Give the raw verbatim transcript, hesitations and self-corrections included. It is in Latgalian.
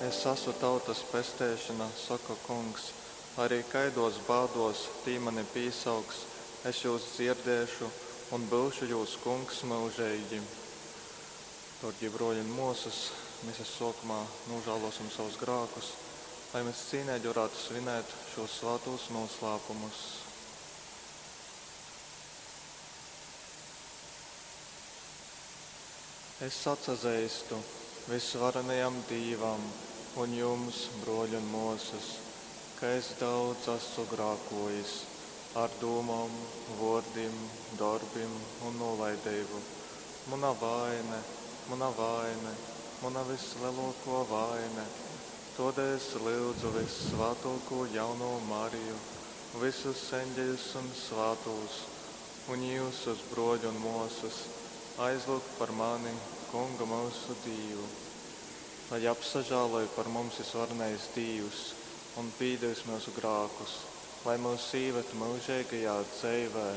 Es asu tautas pesteišona, soka Kungs, lai arī kaiduos bāduos tī mani pīsauks, es jūs dzierdēšu un byušu jūs Kungs myužeigi. Dārgie bruoļi un muosys, mises suokumā nožēlosim savus grākus, lai mēs cīnīgi varētu svinēt šos svātos noslēpumus. Es atsazeistu visvarenajam Dīvam un jums, bruoļi un muosys, ka es daudz esmu grākojis ar dūmom, vuordim, dorbim un nolaideibu. Muna vaine, muna vaine, muna visleluokuo vaine. Todēļ es lyudzu vissvātuokū jaunū Mariju, vysus eņģeļus un svātūs, un jiusus, bruoļi un muosys, aizlyugt par mani Kungu myusu Dīvu. Lai apsažāloj par mums visvarenais Dīvs un pīdevis myusu grākus, lai myus īved myužeigajā dzeivē.